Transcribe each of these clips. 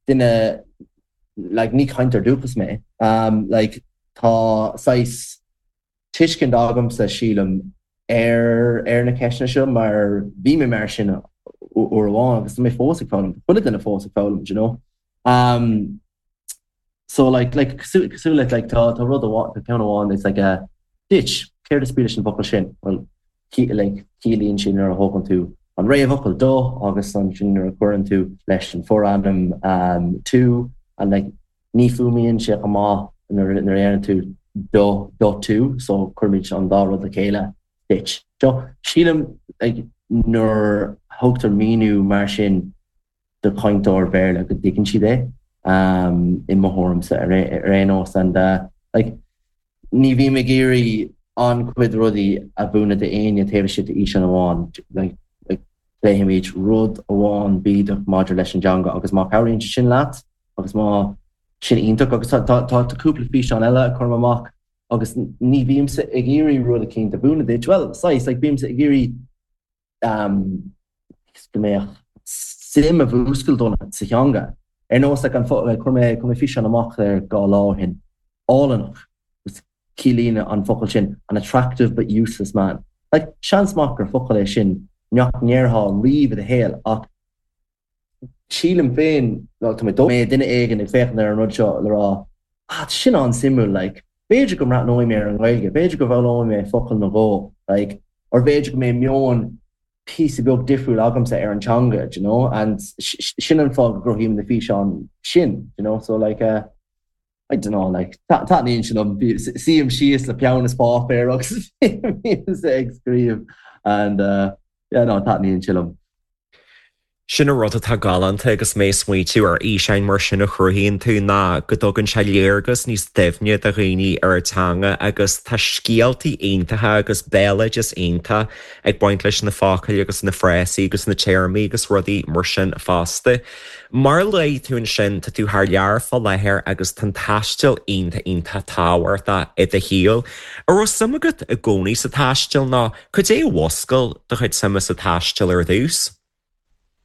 duine like ní cainteoir dúchais mé um like tá saghas tuiscint agamsa sílim ar ar na ceisteanna seo mar bhí mé mar sin uair amháin agus tá mé fós ag foghlaim, tá chuile duine fós ag foghlaim do you know. Um so like like cosúil cosúil le like tá tá rud amháin tá ceann amháin it's like a ditch céard is brí leis an bhfocal sin? Well like ciallaíonn sé nuair a thógann tú an réamhfhocal do agus ansin nuair a chuireann tú leis an forainm um tú and like Ní fuaimníonn sé chomh maith nuair a deireann tú do, do tú, so cuirimid an dá rud le chéile, ditch. So, sílim like nuair a thugtar míniú mar sin do chainteoir Béarla go dtuigeann siad é, i mo thuairimse ar aon nós and like ní bhím ag iarraidh an-chuid rudaí a mhúineadh d'éinne taobh istigh d'fhíseán amháin. Like like pléifimid rud amháin bídeach maidir leis an dteanga agus má chabhraíonn sé sin leat, agus má sin iontach agus tá tá tá cúpla físeán eile a chuirim amach agus ní bhímse ag iarraidh rud eicínt a mhúineadh duit, bhuel, saghas, like bímse ag iarraidh um, go mbeadh suim a mhúscailt ionat sa theanga. Ar nós like an like chuir mé chuir mé físeán amach ar 2 lá ó shin, áilleannach, agus ciallaíonn an focal sin an attractive but useless man. Like seans maith gur focal é sin nach ndéarfá riamh i do shaol ach Sílim féin, nó tá mé dóigh, go mbeidh duine éigin ag féachaint ar an rud seo le rá, ah, tá sin an-suimiúil, like, b'fhéidir go mbreathnóidh mé ar an nGaeilge, b'fhéidir go bhfoghlaimeoidh mé focal nó dhó, like, or b'fhéidir go mbeidh meon píosa beag difriúil agamsa ar an teanga, do you know, and sin an fáth go gcruthaím na físeáin sin, do you know, so like, eh, I don't know, like, taitníonn sé liom, suím síos le peann is páipéar agus bímse ag scríobh and uh, yeah, no, taitníonn sé liom. Sin an rud atá galánta agus mé ag smaoitiú ar fhíseáin mar sin a chruthaíonn tú ná go dtugann sé léargas níos doimhne do dhaoine ar an teanga agus tá scéaltaí iontacha agus béaloideas iontach ag baint leis na focail agus na frásaí agus na téarmaí agus rudaí mar sin fosta. Mar a luaigh tú ansin, tá tú thar lear fá láthair agus tá an taisteal iontach iontach tábhachtach i do shaol. An raibh suim agat i gcónaí sa taisteal nó cad é a mhúscail do chuid suime sa taisteal ar dtús?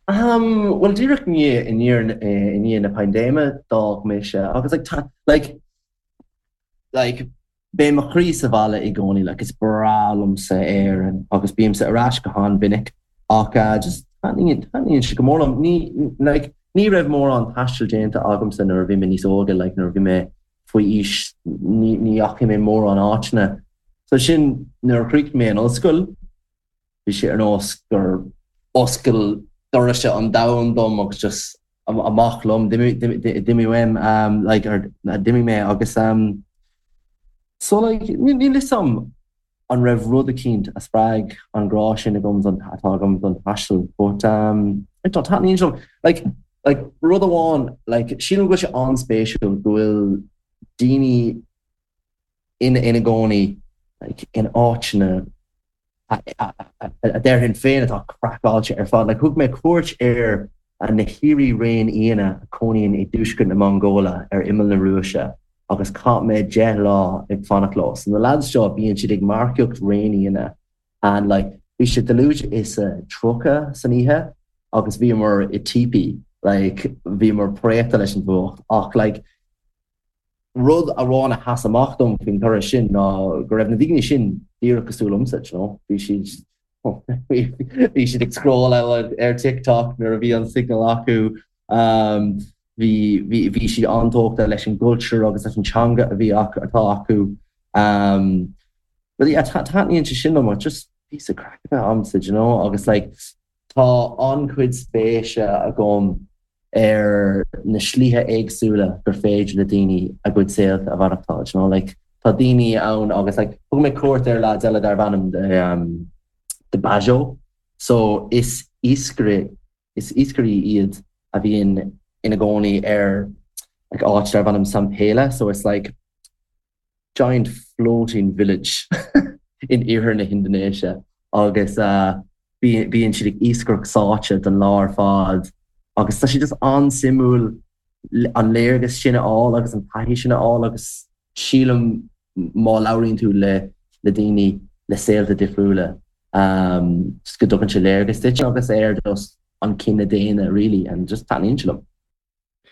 Ahem, bhuel díreach i ndiaidh i ndiaidh na paindéime d'fhág mise agus like tá like like Beidh mo chroí sa bhaile i gcónaí, like is breá liomsa Éirinn agus bímse ar ais go han-mhinic ach just taitníonn, taitníonn sé go mór liom. Ní, like ní raibh mórán taistil déanta agamsa nuair a bhí mé níos óige, like nuair a bhí mé faoi aois ní, ní dheachaigh mé mórán áiteanna. So sin nuair a chríochnaigh mé an ollscoil, bhí sé ar nós gur oscail doirse an domhain dom agus just amach liom, d'imigh uaim, like, or d'imigh mé agus so like níl fhios a'm an raibh rud eicínt a spreag an grá sin agam don, atá agam don taisteal but I don't, taitníonn sé liom. Like, like rud amháin, like sílim go bhfuil sé an-spéisiúil go bhfuil daoine ina ina gcónaí like in áiteanna a déarfainn féin atá craiceáilte ar fad. Like thug mé cuairt ar na haoirí réinfhianna a chónaíonn i dtuaisceart na Mongóile ar imeall na Rúise agus chaith mé 10 lá ag fanacht leo. So na lads seo bíonn siad ag marcaíocht réinfhianna and like bhí sé dlúth is a 30 san oíche agus bhíomar i teepee like bhíomar préachta leis an bhfuacht ach like Rud amháin a sheas amach dom faoin turas sin ná go raibh na daoine sin díreach cosúil liomsa, you know. Bhí siad bhí siad ag scrolláil ar TikTok nuair a bhí an signal acu. Bhí bhí bhí siad an-tógtha leis an gcultúr agus leis an teanga a bhí acu atá acu. But yeah, taitníonn sé sin liom, just píosa craic a bheith a'msa, you know, agus like Tá an-chuid spéise agam ar na slíthe éagsúla gur féidir le daoine a gcuid saolta a mhaireachtáil, you know, like tá daoine ann agus like thug mé cuairt ar lads eile darbh ainm um, The Bajau, so is iascaire is iascairí iad a bhíonn ina gcónaí ar like áit darbh ainm Sampela, so it's like giant floating village in iarthar na hIndinéise agus bíonn siad ag iascaireacht sáite don lá ar fad agus tá sé just an-suimiúil an léargas sin a fháil agus an taithí sin a fháil agus sílim má labhraíonn tú le le daoine le saolta difriúla just go dtugann sé léargas duit agus ar just an cine daonna really and just taitníonn sé liom.